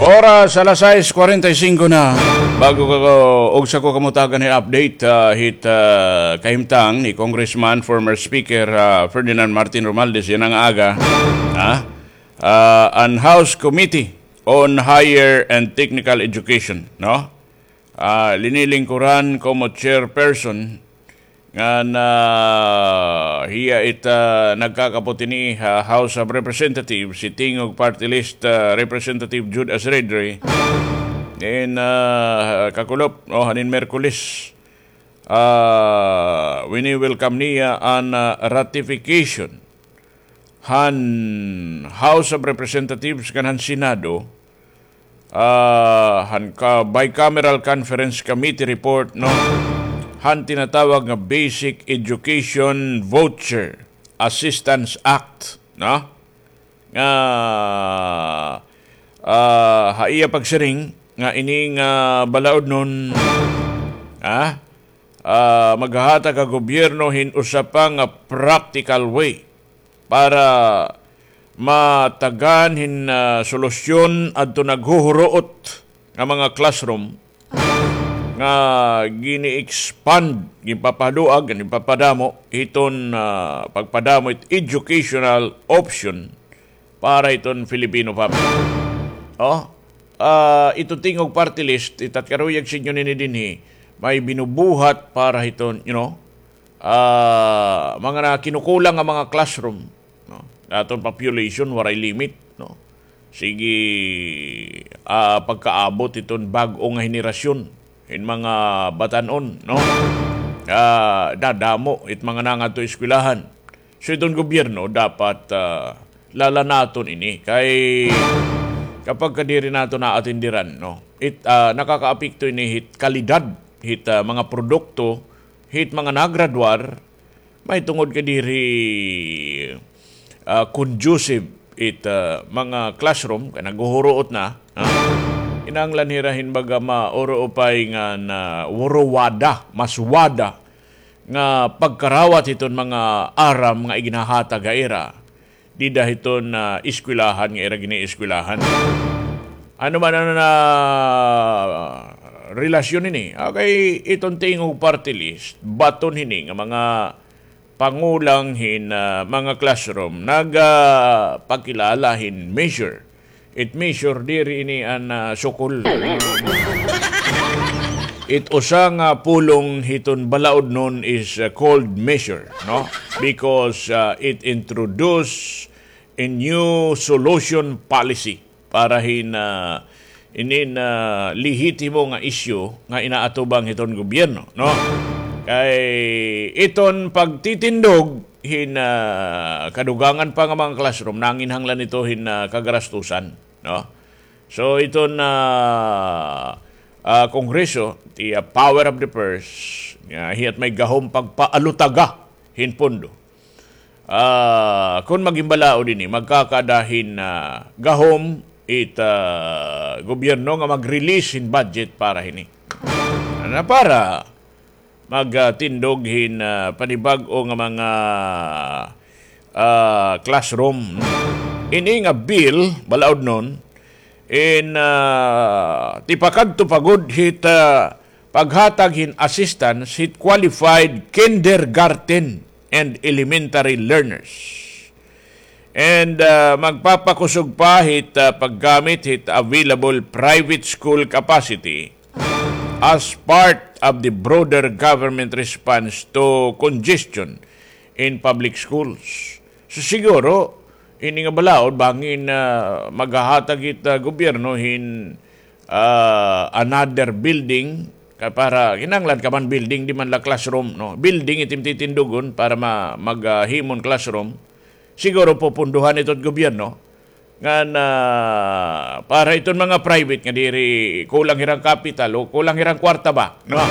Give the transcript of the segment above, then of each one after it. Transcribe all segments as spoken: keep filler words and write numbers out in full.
Oras alas sais kwarenta y singko na. Bago ka ko, ugsa ko kamo tagan hin update, ah, hit, ah, kahimtang ni Congressman, former Speaker, ah, Ferdinand Martin Romualdez yana nga aga, ha? Ah, an House Committee on Higher and Technical Education, no? Ah, linilingkuran komo chairperson ngan hiya it, ah, nagkakapot hini ha House of Representatives, hi Tingog Party List, ah, Representative Jude Asidre. In, ah, kakulop, no, hain Miyerkules, ah, wini-welcome niya an, ah, ratification han House of Representatives ngan han Senado, ah, han ka bicameral conference committee report, no, han tinatawag nga Basic Education Voucher Assistance Act, no, nga, ah, ha iya pagsiring nga ini nga balaodnon, ah, ah, maghahatag ha gobyerno hin usa pa nga practical way para matagan hin, ah, solusyon adto naghuhuruot nga mga classroom nga gini-expand, ginpapahaduag, ginpapadamo hiton, ah, pagpadamo hit educational option para hiton Filipino family. Oh, ah, ito Tingog Party List, it at karuyag sa inyo nini dinhi, may binubuhat para hiton, you know, ah, mga na kinukulang nga mga classroom, no? Aton population, waray limit, no? Sige, ah, pagkaabot iton bag-o nga henerasyon, hin mga batan-on, no? Ah, dadamo it mga nangadto eskwelahan. So, iton gobyerno dapat, ah, lalanaton ini. Kay kapag ka diri naton naatindiran, no? It, ah, nakakaapekto ini hit kalidad, hit, ah, mga produkto, hit mga nagradwar, mahitungod kay diri, ah, conducive it, ah, mga classroom, kay naghuhuruot na, ha? Kinahanglan hira hin baga mauruupay nga na wuruwada, maswada nga pagkarawat hiton mga aram nga iginhahatag ha ira dida hiton, ah, eskwelahan nga ira gini-eskwelahan. Ano man an, ah, relasyon hini? Okay, iton Tingog Party List, baton hini nga mga pangulang hin, ah, mga classroom nagapakilala hin measure. It measure, diri ini an, ah, sukol. It usa nga pulong hiton balaodnon is, ah, called measure, no? Because, ah, it introduce a new solution policy para hin, ah, inin, ah, lehitimo nga isyu nga inaatubang hiton gobyerno, no? Kay iton pagtitindog hin, ah, kadugangan pa nga mga classroom, nanginhanglan ito hin, ah, kagarastusan, no? So, iton, ah, ah, Kongreso, the, ah, power of the purse, nga hiya't may gahom pagpaalutaga hin pondo. Ah, kon maghimbalaod ini, magkakada hin, ah, gahom it, ah, gobyerno nga mag-release hin budget para hini. Ano, para magtindog hin, ah, panibag-o nga mga, ah, classroom. Ini nga bill, balaodnon, in, ah, tipakadto pa gud hit, ah, paghatag hin assistance hit qualified kindergarten and elementary learners. And, ah, magpapakusog pa hit, ah, paggamit hit available private school capacity as part of the broader government response to congestion in public schools. So, siguro, ini nga balaod, bangin, ah, maghahatag it, ah, gobyerno hin, ah, another building, kay para, kinahanglan ka man building, di man la classroom, no? Building it im titindugon para ma-, mag, ah, himon classroom. Siguro pupunduhan ito it gobyerno. Ngan, ah, para iton mga private nga diri kulang hirang kapital o kulang hirang kwarta ba, no?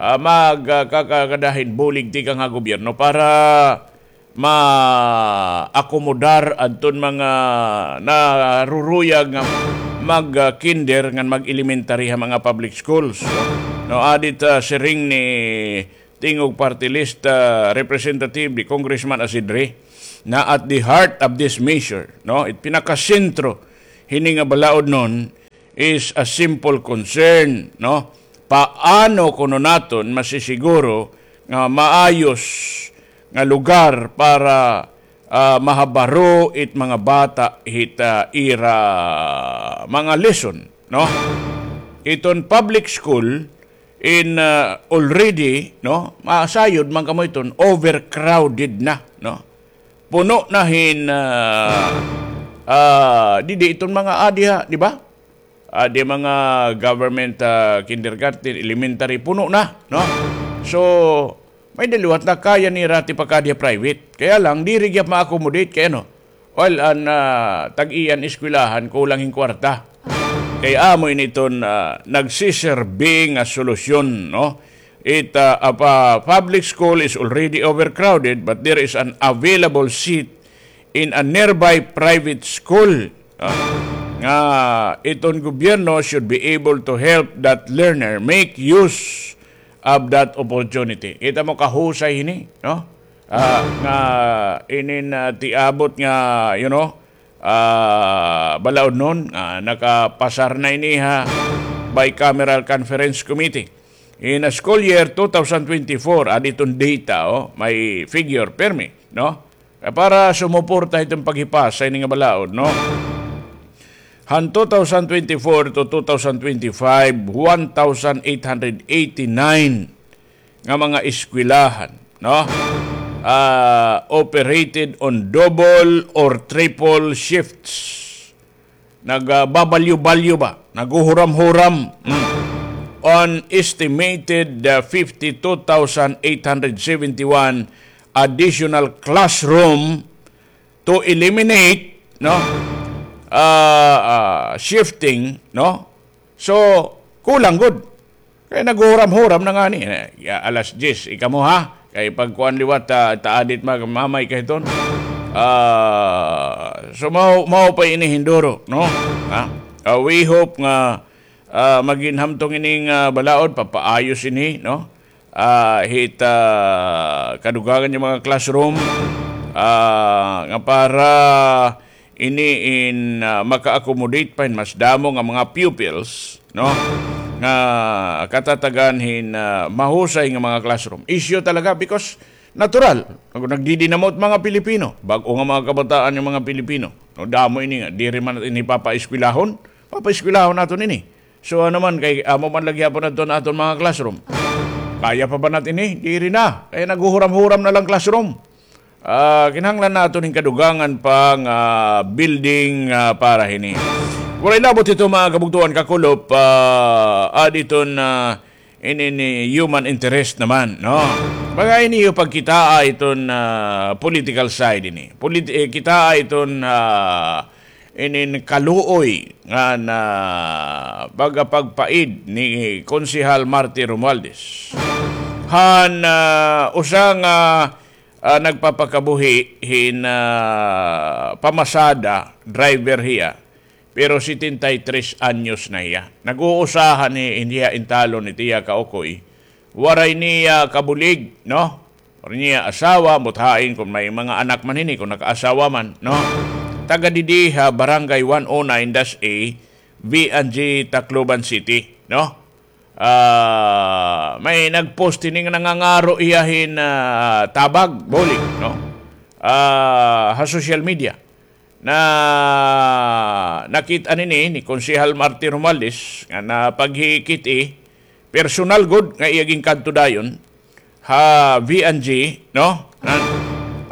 Ah, mag, ah, kakakada hin bulig tikang ha gobyerno para ma-akomodar adton mga naruruyag nga mag, ah, kinder ngan mag-elementary ha mga public schools. No, adi it, ah, siring ni Tingog Party List, ah, Representative ni Congressman Asidre, na at the heart of this measure, no? It pinakasentro hini nga balaodnon is a simple concern, no? Paano kuno naton masisiguro nga maayos nga lugar para, ah, mahabaro it mga bata hit, ah, ira mga lesson, no? Iton public school in, ah, already, no? Masayod man kamo iton, overcrowded na, no? Puno na hin, ah, ah, didi iton mga adi ha, di ba? Adi mga government, ah, kindergarten, elementary, puno na, no? So, may-ada liwat na kaya nira it ipakaadi ha private. Kaya lang, diri gihap ma-accommodate kay ano, well, an, ah, tag-iyan eskwelahan, kulang hin kwarta. Kay amo ini iton, ah, nagsiserbi nga solusyon, no? It, ah, a pa-, public school is already overcrowded, but there is an available seat in a nearby private school. Ah, nga iton gobyerno should be able to help that learner make use of that opportunity. Kita mo kahusay hini, no? Ah, nga inin, ah, tiabot nga, you know, ah, balaod nun, ah, nakapasar na ini ha bicameral conference committee. In a school year two thousand twenty-four, adi iton data, oh, may figure, permi, no? Para sumuporta iton paghipasa ini nga balaod, no? Han two thousand twenty-four to two thousand twenty-five, one thousand eight hundred eighty-nine nga mga eskwelahan, no? Ah, operated on double or triple shifts. Nag, ah, babalyo-balyo ba? Naghuhuram-huram. Mm. On estimated, ah, fifty-two thousand eight hundred seventy-one additional classroom to eliminate, no? Ah, ah, shifting, no? So, kulang gud. Kay naghuhuram-huram na ngani. Eh, ya, alas diyes, ika mo ha? Kay pagkuan liwat, ah, ta adit mag-, mamay ka hiton. Ah, so, mao, mao pa ini hinduro, no? Ha? Ah, we hope nga, ah, maghinhamtong ining, ah, balaod, papaayos ini, no? Ah, hit, ah, kadugangan nga mga classroom, ah, nga para ini in, ah, maka-accommodate pa hin mas damo nga mga pupils, no? Nga katatagan hin, ah, mahusay nga mga classroom. Issue talaga because natural. Nag-, nagdidinamot mga Pilipino. Bag-o nga mga kabataan nga mga Pilipino. No, damo ini nga. Diri man ini papaeskwelahon. Papaeskwelahon naton ini. So, ano man, kay amo man la gihapon adto an aton mga classroom. Kaya pa ba naton ini? Diri na. Kay naghuhuram-huram na lang classroom. Ah, kinahanglan naton hin kadugangan pa nga building, ah, para hini. Waray labot hito, mga kabugtoan, kakulop, ah, adi iton, ah, ini, ini human interest naman, no? Baga ini iyo pagkitaa iton, ah, political side ini. Polit-, eh, kitaa iton, ah, inin kaluoy nga na pagapagpaid ni Konsehal Marty Romualdez. Han, ah, usa nga, ah, nagpapakabuhi hin, ah, pamasada, driver hiya, pero setenta y tres anyos na hiya. Nag-uusahan hi, hiya intalon hit iya kaukoy. Waray niya kabulig, no? Waray niya asawa, ambot hain kon may mga anak man hini, kon nakaasawa man, no? Taga didi ha Barangay one oh nine dash A, V and G, Tacloban City, no? Ah, may nag-post hini nga nangangaro hiya hin, ah, tabag, bulig, no? Ah, ha social media. Na nakit-an ini ni Konsehal Marty Romualdez nga napaghikit-i, personal gud nga iya ginkadto dayon ha V and G, no? Na,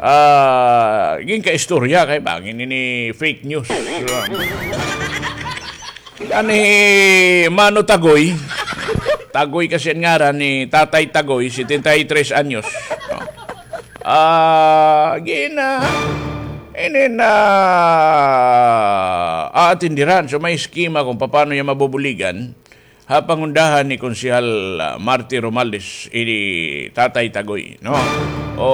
ah, ginkaistorya kay bangin ini fake news. Ani Mano Tagoy, Tagoy kasi an ngaran ni Tatay Tagoy, setenta y tres anyos. No? Ah, gina, ini na aatindiran. So, may eskema kung paano niya mabubuligan ha pangundahan ni Konsehal, ah, Marty Romualdez, ini Tatay Tagoy, no? O,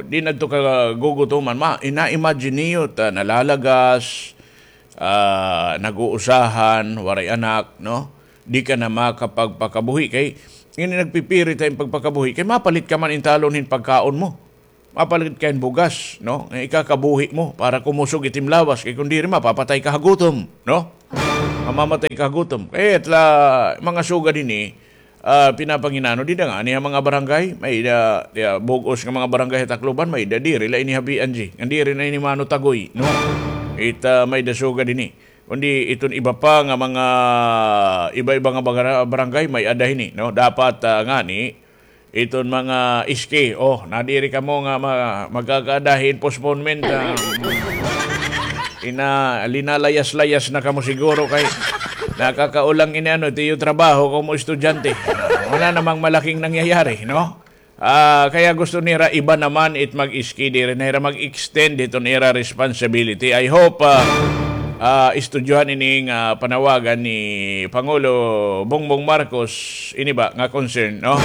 di na ito kagugutuman. Ma-, ina-imagine niyo, ta, nalalagas, ah, nag-uusahan, waray anak, no? Di ka na makapagpakabuhi kay ini nagpipirit ha im pagpakabuhi kay mapalit ka man intalon hin pagkaon mo. Mapalit ka hin bugas, no? Nga ikakabuhi mo para kumusog it im lawas kay kon diri mapapatay ka ha gutom, no? Mamamatay ka ha gutom. Kay it la, mga sugad ini, ah, pinapanginano dida ngani ha mga barangay, may-ada, ah, bug-os nga mga barangay ha Tacloban, may-ada diri la ini ha B N G. Nga diri na ini manutagoy, no? It, ah, may-ada sugad ini. Kundi iton iba pa nga mga iba-iba nga bagara-, barangay, may-ada hini, no? Dapat, ah, ngani, iton mga iski, oh, nadiri kamo nga ma-, magkakaada hin postponement, ah, ina-, linalayas-layas na kamo siguro kay nakakaulang ini, ano, it iyo trabaho kamo estudyante. Wala namang malaking nangyayari, no? Ah, kaya gusto nira iba naman it mag-iski, diri na hira mag-extend hiton ira responsibility. I hope, ah, ah, estudyuhan ini nga panawagan ni Pangulo Bongbong Marcos, ini ba nga concern, no?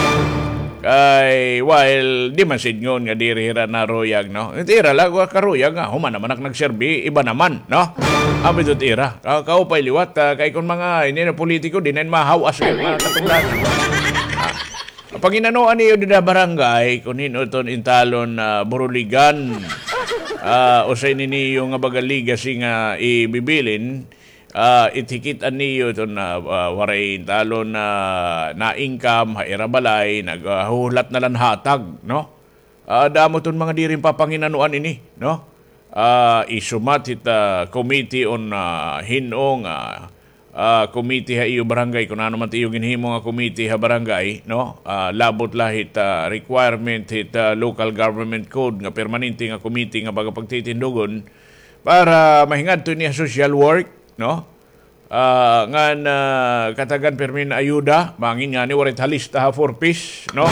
Kay, while, di man sidngon nga diri hira naruyag, no? It ira la, wa karuyag nga, human naman ak nagserbi, iba naman, no? Abi dot ira, ka-, kaupay liwat, ah, kay kon mga, ini na politiko, di na mahawas kay mga katungdanan. Ah, Panginanuan niyo dida barangay, kun hin-o iton intalon na buruligan, ah, usa ini niyo nga baga legacy nga ibibilin, ah, it hikit-an niyo iton, ah, ah, waray intalon na na-income ha ira balay, naghuhulat na la hin hatag, no? Ah, damo iton mga diri papanginanuan ini, no? Ah, isumat hit, ah, committee on, ah, hin-o nga, ah, committee ha iyo barangay, kun ano man it iyo ginhimo nga committee ha barangay, no? Ah, labot la hit, ah, requirement hit, ah, local government code nga permanente nga committee nga baga pagtitindugon para mahingadto ini ha social work, no? Ah, ngan, ah, katagan pirmi hin ayuda, bangin ngani waray it ha lista ha four Ps, no?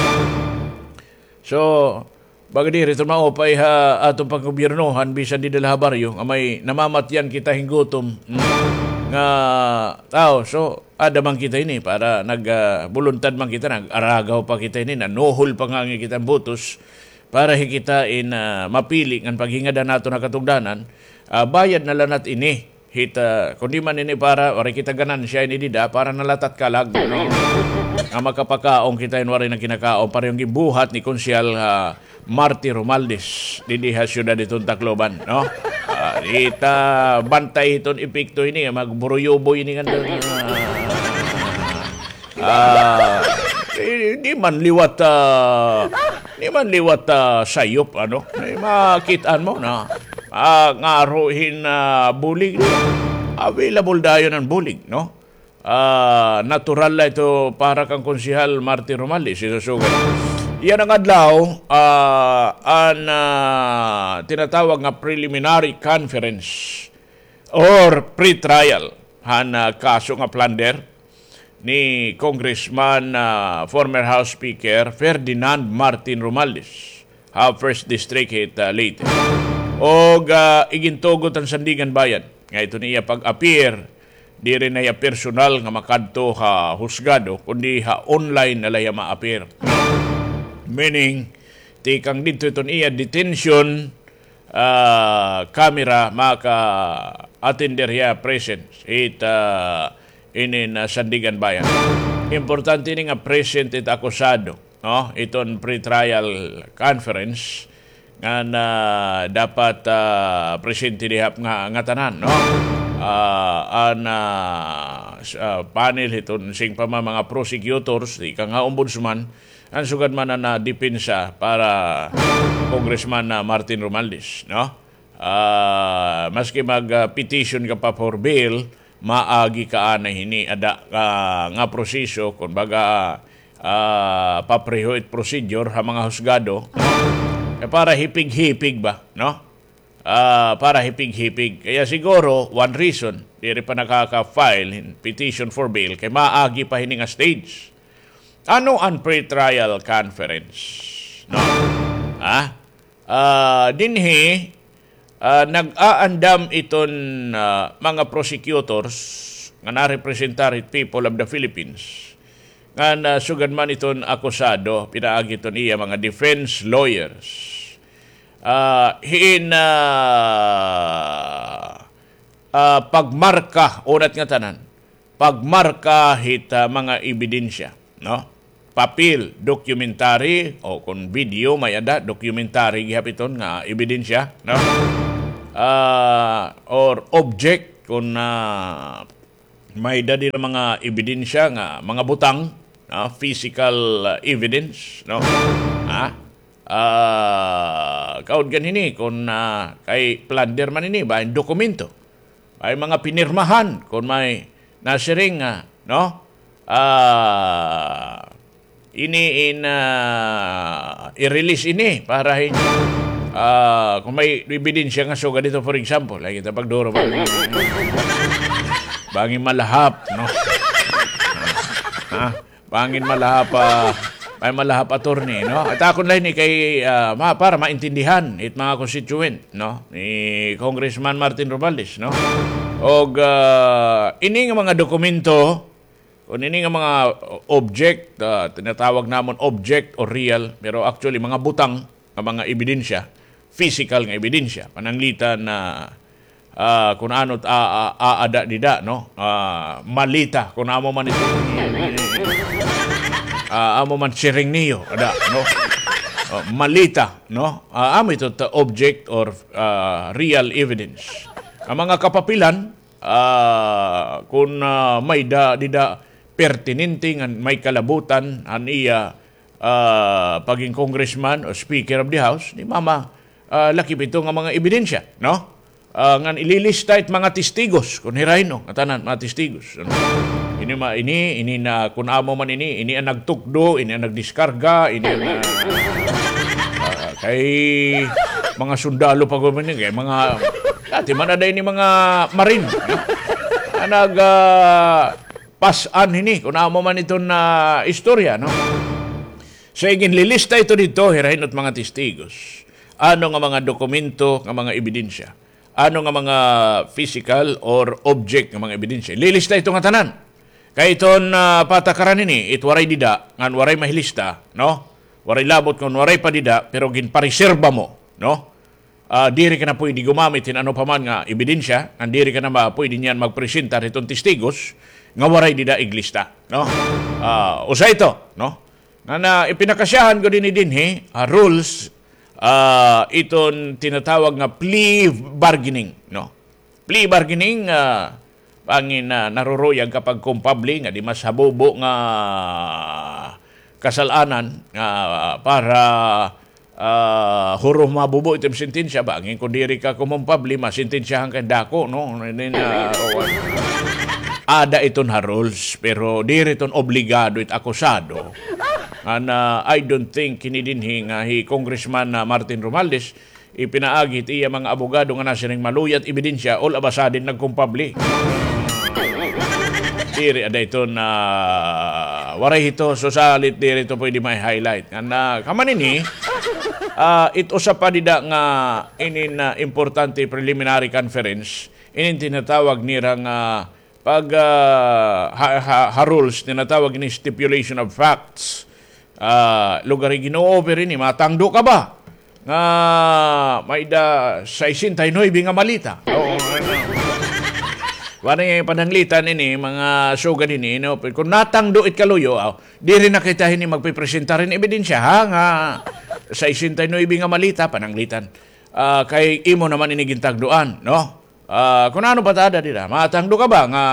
So, baga diri iton maupay ha aton panggobyernohan, bisan dida la ha baryo, nga may namamatyan kita hin gutom, mm, nga tawo. So, aada man kita ini para nag, ah, buluntad man kita, nag-aragaw pa kita ini, nanuhol pa ngani kita hin butos para hikita in, ah, mapili ngan paghingadan naton ha katungdanan, ah, bayad na la nat ini. Hita, kundi man ini para, waray kita ganansya ini dida, para na la it at kalag, no? Nga makapakaon kita hin waray na kinakaon, parehong ginbuhat ni Konsehal, ah, Marty Romualdez, didi ha siyudad hiton Tacloban, no? Ah, hita, bantay hiton epekto ini, magburuyuboy ini nga, ah, Ah, eh, di man liwat, ah, di man liwat, ah, sayop, ano? May makit-an mo na, ah, ngaro hin, ah, bulig. Available dayon an bulig, no? Ah, natural la ito para kan Konsehal Martin Romaldez, isusugad. Yana nga adlaw, ah, an, ah, tinatawag nga preliminary conference or pre-trial han, ah, kaso nga plunder ni Congressman, ah, former House Speaker Ferdinand Martin Romualdez ha First District hit, ah, Leyte. Ug, ah, igintugot han Sandiganbayan nga iton iya pag-appear, diri na hiya personal nga makadto ha husgado, kundi ha online na la hiya ma-appear. Meaning, tikang didto iton iya detention, ah, camera, maka-attender hiya present hit, ah, inin, ah, Sandiganbayan. Importante ini nga present it akusado, no? Iton pre-trial conference nga na dapat, ah, presente dida nga, ngatanan, no? Ah, an, ah, s-, ah, panel hiton singpama mga prosecutors, tikang ha ombudsman, an sugad man an, ah, depensa para Congressman, ah, Martin Romualdez, no? Ah, maski mag, ah, petition ka pa for bail, maagi ka anay hini ada, ah, nga proseso, kun baga, ah, papreho it procedure ha mga husgado, no? Kay para hipig-hipig ba, no? Ah, para hipig-hipig. Kaya siguro, one reason, diri pa nakaka-file hin petition for bail, kay maagi pa hini nga stage. Ano an pre-trial conference? No? Ha? Ah, dinhi, ah, nag-aandam iton, ah, mga prosecutors nga narepresentar it people of the Philippines. Nga na sugad man iton akusado, pinaagi iton iya mga defense lawyers. Ah, hin, ah, ah, pagmarka, unat ngatanan, pagmarka hit, ah, mga ebidensya, no? Papel, documentary, o kon video, may-ada, documentary gihap iton nga ebidensya, no? Ah, or object, kon, ah, may-ada dida mga ebidensya nga mga butang, ah, physical, ah, evidence, no? Ha? Ah, kaudgan hini kon, ah, kay plunder man ini, bangin dokumento. May mga pinirmahan kon may nasiring nga, no? Ah, ini in, ah, i-release ini para hin-, ah, kon may ebidensya nga sugad hito, for example, ay kita pagduro ba? Bangin malahap, no? Ha? Bangin malahap, ah, may malahap attorney, no? At akon la ini kay, ah, ma-, para maintindihan it mga constituent, no? Ni Congressman Martin Romualdez, no? Og, ah, ini nga mga dokumento, kon ini nga mga object, ah, tinatawag namon object or real, pero actually mga butang nga mga ebidensya, physical nga ebidensya, pananglitan na, ah, kun ano it a-, a-, aada dida, no? Ah, malita, kun amo man ito, ah, amo man siring niyo, ada, no? Ah, malita, no? Ah, amo ito ta object or, ah, real evidence. An mga kapapilan, ah, kun, ah, may-ada dida pertinente ngan may kalabutan han iya, ah, pagin congressman o Speaker of the House, ni mama, ah, lakip ito nga mga ebidensya, no? Ah, ngan ililista it mga testigos, kon hira hin-o, ngatanan, mga testigos. Ano? Ini ma-, ini, ini na, kun amo man ini, ini an nagtukdo, ini an nagdiskarga, ini an, ah, ah, kay mga sundalo pa gud man ini, kay mga, dati man ada ini mga marine, no? An nag, ah, pas-an hini, kun amo man iton, ah, istorya, no? So, iginlilista ito didto, hira hin-o it mga testigos. Ano nga mga dokumento, nga mga ebidensya. Ano nga mga physical or object nga mga ebidensya. Lilista ito ngatanan. Kay iton, ah, patakaran hini, it waray dida, ngan waray mahilista, no? Waray labot ngan waray pa dida, pero ginpareserba mo, no? Ah, diri ka na puyde gumamit hin ano pa man nga ebidensya, ngan diri ka na ma-, puyde niyan magpresentar hiton testigos nga waray dida iglista, no? Ah, usa ito, no? Ngan, ah, ipinakasyahan gud ini dinhi, ah, rules, ah, iton tinatawag nga plea bargaining, no? Plea bargaining, ah, bangin, ah, naruruyag ka pagkumpabli nga di mas habubo nga kasal-anan nga para, ah, huro mabubo it im sentensya, bangin kon diri ka kumumpabli, masentensyahan ka hin dako, no? Ini na, o, ada iton ha rules, pero diri iton obligado it akusado. Ngan, ah, I don't think hini dinhi nga hi Congressman, ah, Martin Romualdez, ipinaagi hit iya mga abogado nga nasiring maluya it ebidensya, all of a sudden nagkumpabli. Diri ada ito na waray hito, so salit diri ito puyde ma-highlight. Ngan, ah, kaman ini, ah, it usa pa dida nga inin, ah, importante preliminary conference, inin tinatawag nira nga pag, ah, ha, ha, ha rules, tinatawag ini stipulation of facts. Ah, lugar hi gin-o-offer ini, matangdo ka ba nga may-ada sesenta y nuebe nga maleta? Oo, ano. Wala nga pananglitan ini, mga sugad ini, no? Kon natangdo it kaluyo, aw, diri na kita hini magpipresentar hin ebidensya, ha, nga sesenta y nuebe nga maleta, pananglitan. Ah, kay imo naman ini gintagduan, no? Ah, kun ano pa ta ada dida, matangdo ka ba nga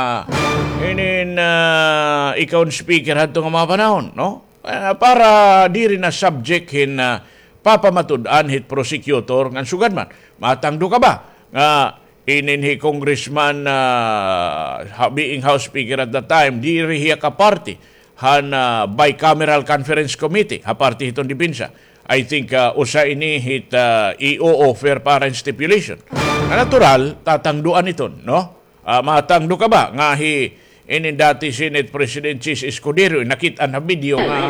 inin, ah, ikaw an speaker hadto nga mga panahon, no? Ah, para diri na subject hin, ah, papamatud-an hit prosecutor ngan sugad man. Matangdo ka ba nga inin hi Congressman, ah, ha-, being House Speaker at the time, diri hiya kaparti han, ah, bicameral conference committee, ha parte hiton depensa. I think, ah, usa ini hit, ah, i-o-offer para hin stipulation. Nga natural, tatangduan iton, no? Ah, matangdo ka ba nga hi inin dati Senate President Chiz Escudero, nakit-an ha video nga,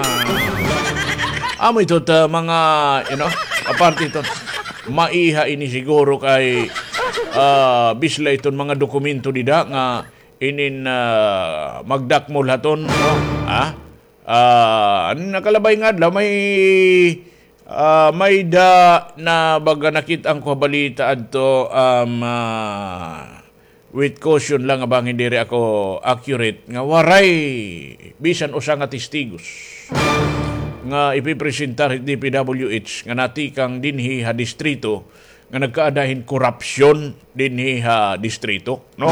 amo ito ta mga, you know, aparte ito, maiha ini siguro kay, ah, bisla iton mga dokumento dida nga inin, ah, magdakmol haton, no? Ha? Ah, nakalabay nga adlaw, may, ah, may-ada na baga nakit-an ko ha balita adto, um, ah, with caution lang nga bangin diri ako accurate, nga waray bisan usa nga testigos nga ipipresentar hit D P W H nga natikang dinhi ha distrito nga nagkaada hin korupsyon dinhi ha distrito, no?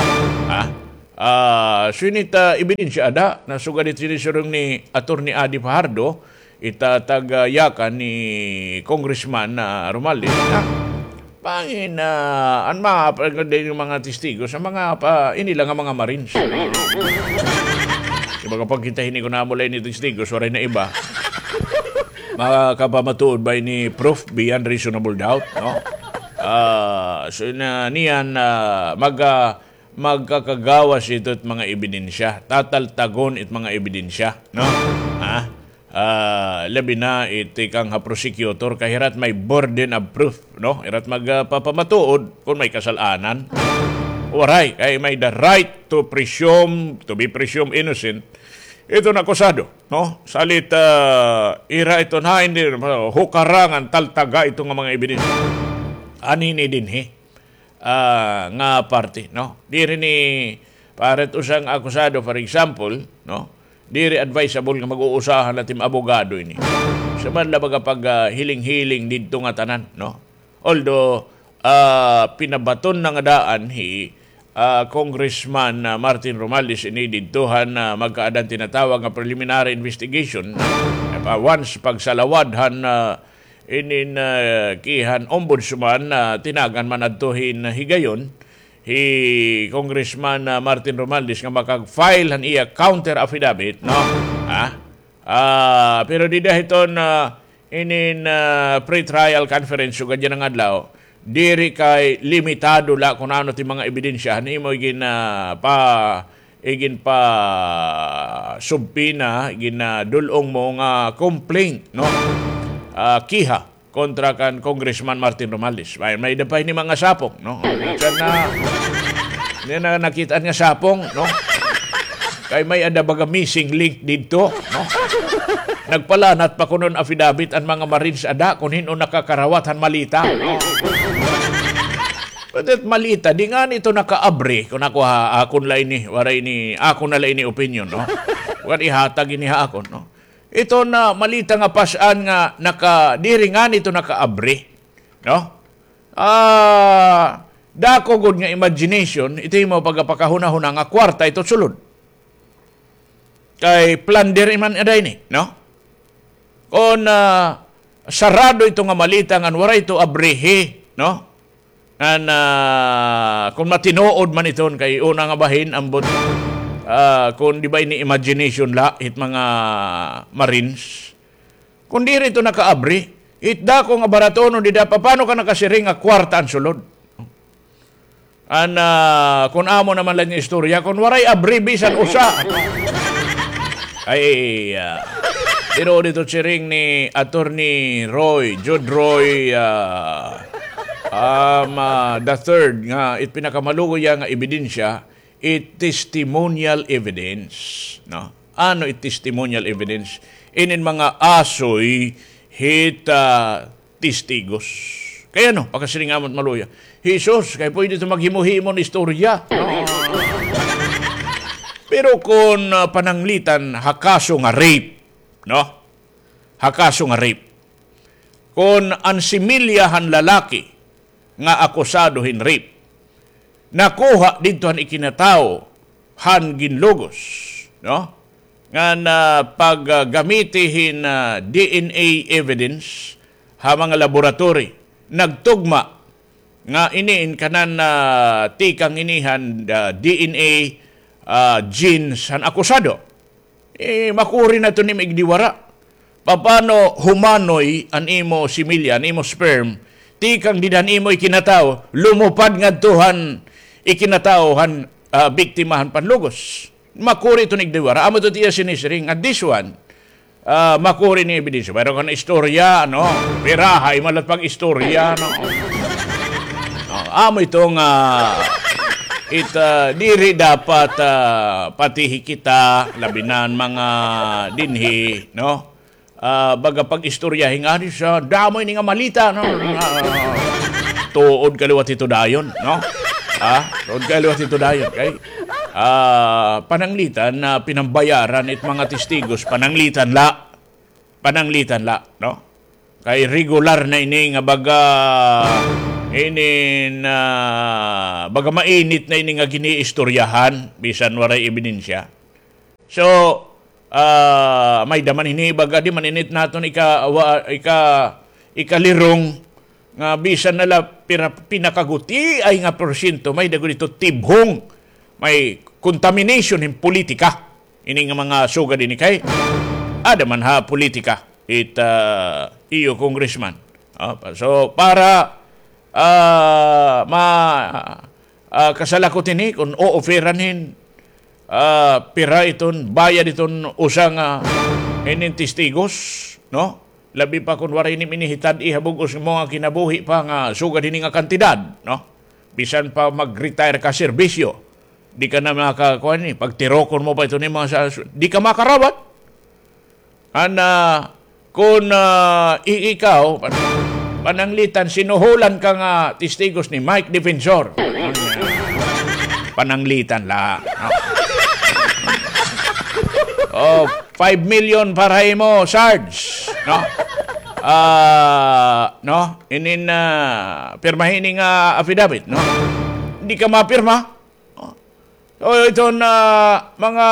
Ha? Ah, so init, ah, ebidensya ada, na sugad it siniring ni Attorney Adi Fajardo, it, ah, taga-yakan ni Congressman, ah, Romualdez, na bangin, ah, an mga pa-, din mga testigos, an mga pa-, ini la nga mga Marines. Di ba kapag kita hini kun amo la ini testigos, waray na iba. Makapamatuod ba ini proof beyond reasonable doubt, no? Ah, so na niyan, ah, mag-, ah, magkakagawas ito it mga ebidensya. Tataltagon it mga ebidensya, no? Ha? Ah, labi na it tikang ha prosecutor, kay hira it may burden of proof, no? Hira it magpapamatuod kun may kasal-anan. Waray, kay may the right to presume, to be presumed innocent iton akusado, no? Salit, ah, ira iton hain, di, hukarangan, taltaga ito nga mga ebidensya. Anini dinhi, ah, nga parte, no? Diri ni, para it usa nga akusado, for example, no? Diri advisable nga mag-uusahan la tim abogado ini. Sa man la baga pag, ah, hiling-hiling didto nga tanan, no? Although, ah, pinabaton na nga daan hi, ah, Congressman, ah, Martin Romualdez ini didto han, ah, magkaadan tinatawag nga preliminary investigation. Ah, once pagsalawad han, ah, inin, ah, kihan ombudsman, ah, tinagan man adto hin higayon hi Congressman, ah, Martin Romualdez nga makag-file han iya counter affidavit, no? Ha? Ah, pero dida hiton, ah, inin, ah, pre-trial conference sugad yana nga adlaw, diri kay limitado la kun ano it mga ebidensya han imo igin, ah, pa, igin pa subpoena, igin, ah, dul-ong mo nga complaint, no? Ah, kiha kontra kan Congressman Martin Romualdez. May, may-ada pa ini mga sapong, no? Minsan na, niyan na nakit-an nga sapong, no? Kay may-ada baga missing link didto, no? Nagpalanat pa kuno hin affidavit an mga Marines ada kun hin-o nakakarawat han maleta, no? But that maleta, di ngani ito nakaabri, kun ako ha, akon la ini, waray ini, akon na la ini opinion, no? Waray ihatag ini ha akon, no? Ito na maleta nga pas-an nga naka-, diri ngani ito nakaabri, no? Ah, dako gud nga imagination, ito imo pagpakahunahuna nga kwarta ito sulod. Kay plunder man ada ini, no? Kon, ah, sarado ito nga maleta ngan waray ito abrihi, no? Ngan, ah, kon matinuod man iton kay una nga bahin, ambot, ah, kon di ba ini imagination la, hit mga Marines. Kon diri ito nakaabri, hit dako nga baratonon dida, papano ka nakasiring nga kwarta an sulod? An, ah, kon amo naman la ini istorya, kon waray abri bisan usa. Ay, ah, pero dito siring ni Attorney Roy, Jude Roy, ah, um, ah, the third nga, it pinakamaluoy nga ebidensya, it testimonial evidence, no? Ano it testimonial evidence? Inin mga asoy hit, ah, testigos. Kay ano, pakasiring amo it maluya. Jesus, kay pwede ito maghimo-himo hin istorya. Pero kon, ah, pananglitan ha kaso nga rape, no? Ha kaso nga rape. Kon an similya han lalaki nga akusado hin rape, nakuha didto han ikinatawo han ginlugos, no? Ngan, ah, paggamiti hin, ah, D N A evidence ha mga laboratory, nagtugma nga ini in kanan, ah, tikang ini han, ah, D N A, ah, genes han akusado. Eh, makuri na ito nimo igdiwara. Papano humanoy an imo similya, an imo sperm, tikang dida han imo ikinatawo, lumupad ngadto han ikinatawo han, ah, biktima han panlugos? Makuri ito nimo igdiwara. Amo ito it iya sinisiring nga this one, ah, makuri ni ebidensya. Pero kon istorya, no? Pirahay man la it pag-istorya, no? Oh, amo ito nga, it, ah, diri dapat, ah, patihi kita, labi na an mga dinhi, no? Ah, baga pag-istoryahi ngani sa damo ini nga maleta, no? Ah, tuod ka liwat ito dayon, no? Ah, tuod ka liwat ito dayon, kay, ah, pananglitan na pinambayaran it mga testigos, pananglitan la. Pananglitan la, no? Kay regular na ini nga baga Inin, ah, baga mainit na ini nga giniistoryahan, bisan waray ebidensya. So, ah, may-ada man hini baga di man ini it naton ika-, wa-, ika-, ikalirong nga bisan na la pira-, pinakagutiay nga porsyento, may-ada gud ito tibhong, may contamination hin politika. Ini nga mga sugad ini kay, ada man ha politika, it, ah, iyo congressman. Ah, pa-, so, para, ah, ma-, ah, kasalakot ini, kun o-offeran hin, ah, pira iton, bayad iton usa nga inin testigos, no? Labi pa kun waray ini minihitad-i ha bug-os mo nga kinabuhi pa nga sugad hini nga kantidad, no? Bisan pa mag-retire ka serbisyo, di ka na makakuan ni, pagtirokon mo pa ito ni mga sa, di ka makarawat. Ana, kun, ah, i-, ikaw, pan-, pananglitan, sinuhulan ka nga testigos ni Mike Defensor. Pananglitan la. Oh, five million para imo, Sarge. No? Ah, no? Inin, ah, pirmahin nga affidavit, no? Hindi ka mapirma. Oh. So, ito na mga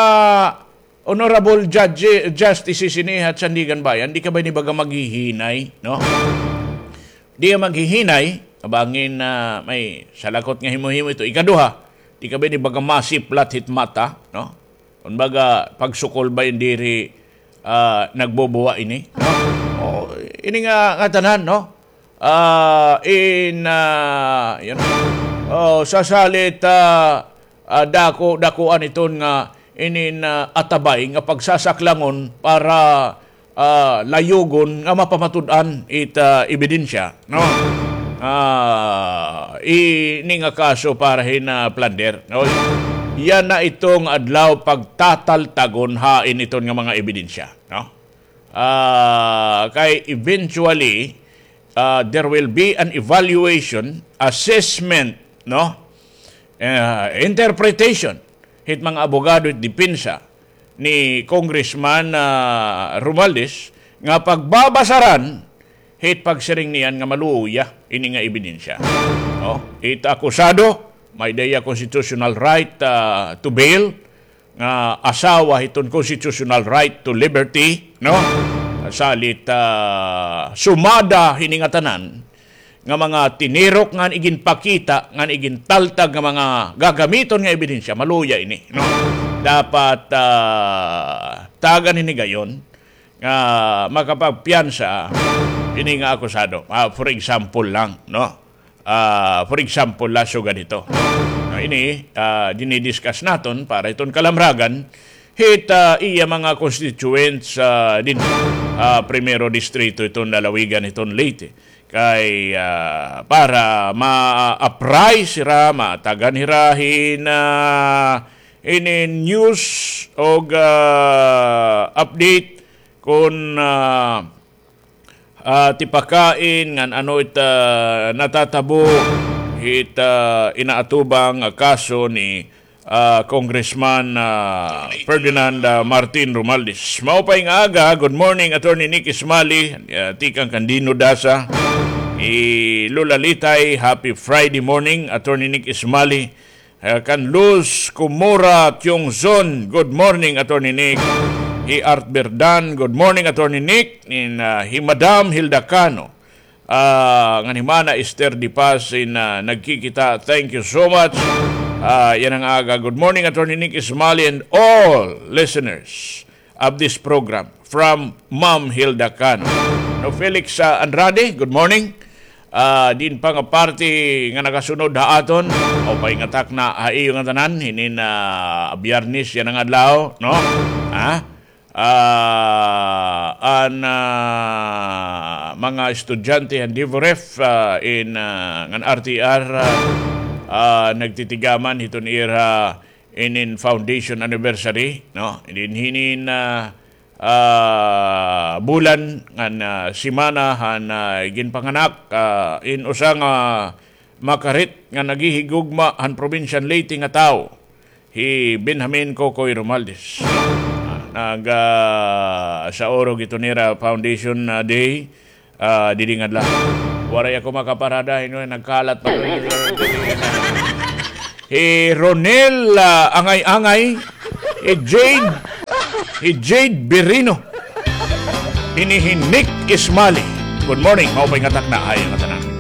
honorable judge, justices ini ha Sandiganbayan, di ka ba ini baga maghihinay, no? Di ka maghihinay, bangin, ah, may salakot nga himo-himo ito. Ikaduha, di ka ba ini baga masiplat hit mata, no? Kumbaga, pagsukol ba ini diri, ah, nagbubuwa ini, no? Oh, ini nga, nga tanan, no? Ah, in, ah, you know, oh, sasalit, ah, ah, dako, dakuan iton nga inin, ah, atabay nga pagsasaklangon para, ah, layugon nga mapamatud-an it, ah, ebidensya, no? Ah, ini nga kaso para hin, ah, plunder, no? Yana iton adlaw pagtataltagon hain iton nga mga ebidensya, no? Ah, kay eventually, ah, there will be an evaluation, assessment, no? Ah, interpretation hit mga abogado hit depensa ni Congressman, ah, Romualdez nga pagbabasaran hit pagsiring niyan nga maluya ini nga ebidensya. No? It akusado may-ada hiya constitutional right, ah, to bail, nga asawa hiton constitutional right to liberty, no? Salit, ah, sumada hini nga tanan nga mga tinirok ngan iginpakita ngan igintaltag nga mga gagamiton nga ebidensya, maluya ini, no? Dapat, ah, tagan hini gayon nga makapagpiyansa ini nga akusado. Ah, for example lang, no? Ah, for example, la sugad hito. No, ini, ah, dinidiscuss naton para hiton kalamragan hit, ah, iya mga constituents, ah, din, ah, Primero Distrito hiton lalawigan hiton Leyte. Kay, ah, para ma-apprise hira, matagan hira hin, ah, ini news og, ah, update kun, ah, ah, tipakain ngan ano it, ah, natatabo hit, ah, inaatubang nga kaso ni, ah, Congressman, ah, Ferdinand, ah, Martin Romualdez. Maupay nga aga. Good morning, Attorney Nick Ismali. Ah, tikang kan Dino Dasa. Hi Lola Litay, happy Friday morning, Attorney Nick Ismali. Ah, kan Luz Kumura Tiongzon, good morning, Attorney Nick. Hi Art Berdan, good morning, Attorney Nick. Nin, ah, hi Madam Hilda Cano. Ah, ngan hi Mana Esther Di Paz in, ah, nagkikita. Thank you so much. Ah, yana nga aga. Good morning, Attorney Nick Ismali and all listeners of this program from Ma'am Hilda Cano. No, Felix, ah, Andrade, good morning. Ah, diin pa nga parte nga nakasunod ha aton, maupay nga takna ha iyo ngatanan, hinin, ah, Biyernes yana nga adlaw, no? Ha? Ah, an, ah, mga estudyante han DEVUREF, ah, in, ah, ngan RTR, ah, ah, nagtitigaman hiton ira inin foundation anniversary, no? Dinhi hinin, ah, ah, bulan ngan, ah, semana han, ah, ginpanganak, ah, in usa nga makarit nga naghihigugma han probinsya han Leyte nga tawo, hi Benjamin Kokoy Romualdez. Ah, nag, ah, saurog ito nira foundation, ah, day, ah, didi nga adlaw. Waray ako makaparada, hinoy, nagkalat pa. Hi Ronel, ah, Angay-Angay, hi Jade, hi Jade Birino, ini hi Nick Ismali. Good morning, maupay nga takna, ay, nga tanan.